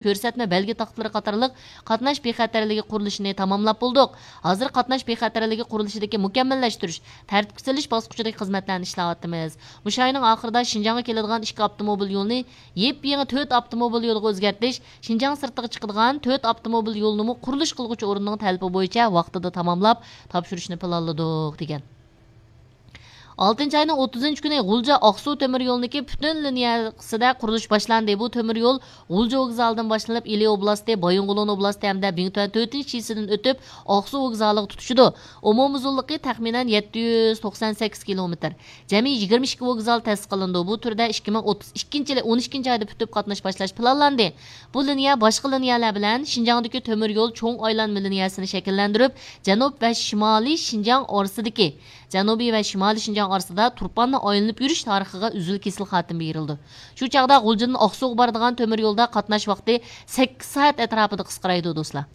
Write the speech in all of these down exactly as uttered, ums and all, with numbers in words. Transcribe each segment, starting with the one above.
كۆرسەتمە بەلگە تاختىلىرى قاتارلىق قاتناش بىخەتەرلىكى قۇرۇلۇشىنى تاماملاپ بولدۇق. ھازىر قاتناش بىخەتەرلىكى قۇرۇلۇشىدىكى مۇكەممەللەشتۈرۈش، تەرتىپكە سېلىش باسقۇچىدىكى خىزمەتلەرنى ئىشلەۋاتىمىز. مۇشۇ ئاينىڭ ئاخىرىدا شىنجاڭغا كېلىدىغان ئىككى ئاپتوموبىل يولىنى يېپيېڭى تۆت ئاپتوموبىل يولىغا ئۆزگەرتىش، شىنجاڭ سىرتىغا چىقىدىغان تۆت ئاپتوموبىل يولىنىمۇ قۇرۇلۇش قىلغۇچى ئورۇننىڭ تەلىپى بويىچە ۋاقتىدا تاماملاپ تاپشۇرۇشنى پىلانلىدۇق، دېگەن. ئالتىنچى ئاينىڭ ئوتتۇزىنچى كۈنى غۇلجا ئاقسۇ تۆمۈر يولىنىڭكى پۈتۈن لىنىيەسىدە قۇرۇلۇش باشلاندى. بۇ تۆمۈر يول غۇلجا ۋوگزالىدىن باشلىنىپ، ئىلى ئوبلاستى، بايىنغولىن ئوبلاستى ھەمدە بىڭتۈەن تۆتىنچى شىسىدىن ئۆتۈپ، ئاقسۇ ۋوگزالىغا تۇتىشىدۇ. ئومۇمىي ئۇزۇنلۇقى تەخمىنەن يەتتە يۈز توقسان سەككىز كىلومېتىر. جەمئىي يىگىرمە ئىككى ۋوگزال تەسىس قىلىنىدۇ. بۇ تۈردە ئىككى مىڭ ئوتتۇز ئىككىنچى يىلى ئون ئىككىنچى ئايدا پۈتۈپ قاتناش باشلاش پىلانلاندى. بۇ لىنىيە باشقا لىنىيەلەر بىلەن شىنجاڭدىكى تۆمۈر يول چوڭ ئايلانما لىنىيەسىنى شەكىللەندۈرۈپ، جەنۇب ۋە شىمالىي شىنجاڭ ئارىسىدىكى، جەنۇبىي ۋە شىمالىي شىنجاڭ ئارىسىدا تۇرپاننى ئايلىنىپ يۈرۈش تارىخىغا ئۈزۈل-كېسىل خاتىمە بېرىلىدۇ. شۇ چاغدا غۇلجىدىن ئاقسۇغا بارىدىغان تۆمۈر يولدا قاتناش ۋاقتى سەككىز سائەت ئەتراپىدا قىسقىرايدۇ، دوستلار.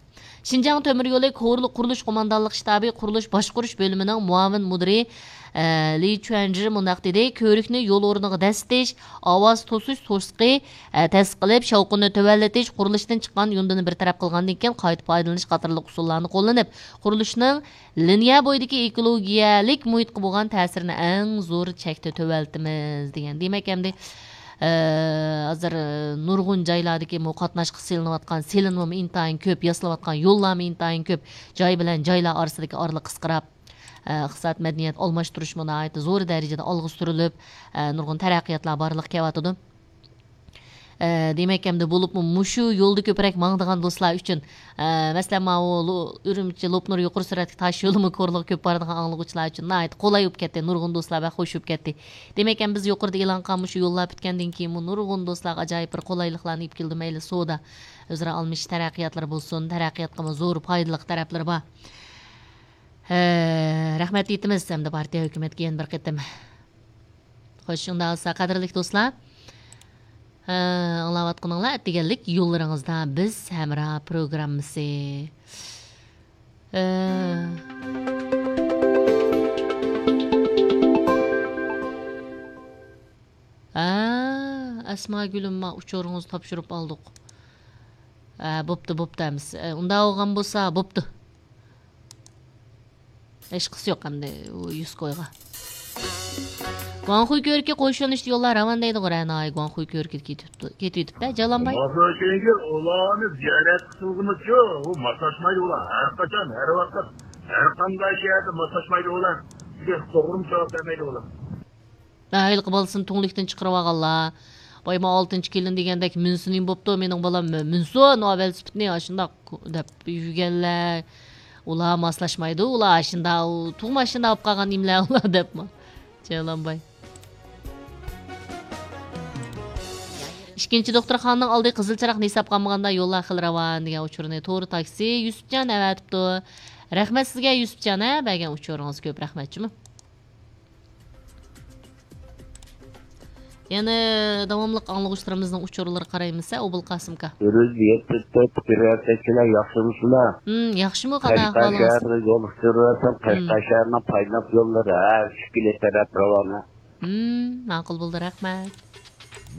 شىنجاڭ تۆمۈر يولى كورلۇق قۇرۇلۇش قوماندانلىق شتابى قۇرۇلۇش باشقۇرۇش بۆلۈمىنىڭ مۇئاۋىن مۇدىرى، ئە، لى چۈەنجى مۇنداق دېدى: كۆۋرۈكنى يول ئورنىغا دەسسىتىش، ئاۋاز توسۇش توسۇقى، ئە، تەسىس قىلىپ، شاۋقۇننى تۆۋەنلىتىش، قۇرۇلۇشتىن چىققان يۇندىنى بىر تەرەپ قىلغاندىن كېيىن قايتا پايدىلىنىش قاتارلىق ئۇسۇللارنى قوللىنىپ، قۇرۇلۇشنىڭ لىنىيە بويىدىكى ئېكولوگىيەلىك مۇھىتقا بولغان تەسىرىنى ئەڭ زور چەكتە تۆۋەنلىتىمىز، دېگەن. دېمەك، ئەمدى، ئە، ھازىر، ئە، نۇرغۇن جايلاردىكى بۇ قاتناشقا سېلىنىۋاتقان، سېلىنمىمۇ ئىنتايىن كۆپ، ياسىلىۋاتقان يوللارمۇ ئىنتايىن كۆپ، جاي بىلەن جايلار ئارىسىدىكى ئارىلىق قىسقىراپ، ئە، ئىقتىساد، مەدەنىيەت ئالماشتۇرۇشمۇ ناھايىتى زور دەرىجىدە ئالغا سۈرۈلۈپ، ئە، نۇرغۇن تەرەققىياتلار بارلىققا كېلىۋاتىدۇ. ئە، دېمەك، ئەمدى بولۇپمۇ مۇشۇ يولدا كۆپرەك ماڭىدىغان دوستلار ئۈچۈن، ئە، مەسىلەن، ماۋۇ لو-، ئۈرۈمچى لوپنۇر يۇقىرى سۈرئەتلىك تاش يولىمۇ كورلىغا كۆپ بارىدىغان ئاڭلىغۇچىلار ئۈچۈن ناھايىتى قولاي بولۇپ كەتتى، نۇرغۇن دوستلار بەك خوش بولۇپ كەتتى. دېمەك، ئەمدى بىز يۇقىرىدا ئېلان قىلغان مۇشۇ يوللار پۈتكەندىن كېيىنمۇ نۇرغۇن دوستلارغا ئاجايىپ بىر قولايلىقلارنى ئېلىپ كېلىدۇ، مەيلى سودا، ئۆزئارا ئالمىشىش تەرەققىياتلىرى بولسۇن، تەرەققىياتقىمۇ زور پايدىلىق تەرەپلىرى بار. ھە، رەھمەت ئېيتىمىز ھەمدە پارتىيە ھۆكۈمەتكە يەنە بىر قېتىم. خوش، شۇنداق بولسا، قەدىرلىك دوستلار، ھە، ئاڭلاۋاتقىنىڭلار ئەتىگەنلىك يوللىرىڭىزدا بىز ھەمراھ پروگراممىسى. ھە. ھە، ئەسما گۈلۈم، ما ئۇچۇرىڭىزنى تاپشۇرۇپ ئالدۇق. ھە، بوپتۇ، بوپتۇ ئەمىسە. ئۇنداق بولغان بولسا، بوپتۇ. ھېچقىسى يوق ئەمدى ئۇ يۈسكويغا. گۇاڭخۇي كۆۋرۈكى قوشۇلۇشتا يوللار راۋان دەيدىغۇ رەناي، گۇاڭخۇي كۆۋرۈكىدىكى كېتىۋېتىپتۇ، كېتىۋېتىپتۇ، جالانباي. ماسلاشمايدىغان ئۇلارنى زىيارەت قىلغىنىچۇ، ئۇ ماسلاشمايدۇ ئۇلار. ھەر قاچان، ھەر ۋاقىت، ھەر قانداق شەھەردە ماسلاشمايدۇ ئۇلار. بىزگە توغرىمۇ جاۋاب بەرمەيدۇ ئۇلار. ھېلىقى بالىسىنى تۈڭلۈكتىن چىقىرىۋالغانلار. بايما ئالتىنچى كېلىن دېگەندەك مىنسىنى بوپتۇ، مېنىڭ بالام مىنسۇن، ئاۋەل سۈپۈتنى ئاشۇنداق دەپ يۈرگەنلەر. ئۇلار ماسلاشمايدۇ، ئۇلار ئاشۇنداق، ئۇ تۇغما ئاشۇنداق بولۇپ قالغان نېمىلەر ئۇلار دەپمۇ. جايلانباي. ئىككىنچى دوختۇرخانىنىڭ ئالدى قىزىل چىراغنى ھېسابقا ئالمىغاندا يوللار خېلى راۋان دېگەن ئۇچۇرنى تورى تاكسى يۈسۈپجان ئەۋەتىپتۇ. رەھمەت سىزگە يۈسۈپجان، ھە، بەرگەن ئۇچۇرىڭىز كۆپ رەھمەت جۇمۇ. يەنە داۋاملىق ئاڭلىغۇچىلىرىمىزنىڭ ئۇچۇرلىرىغا قارايمىز، ھە، ئوبۇلقاسىمكا. ئۆرۈز يەتتە تۆت، پىكىر يارىتىشچىلار ياخشىمۇسىلەر؟ ھىم، ياخشىمۇ، قانداق قەشقەر ئەھۋالىڭىز؟ شەھىرىنى يول ئۇچۇرۇۋەتسەم، قەشقەر شەھىرىنىڭ پايناپ يوللىرى ھە ئۈچ كىلو تەرەپ راۋانە. ھىم، ماقۇل بولدى، رەھمەت.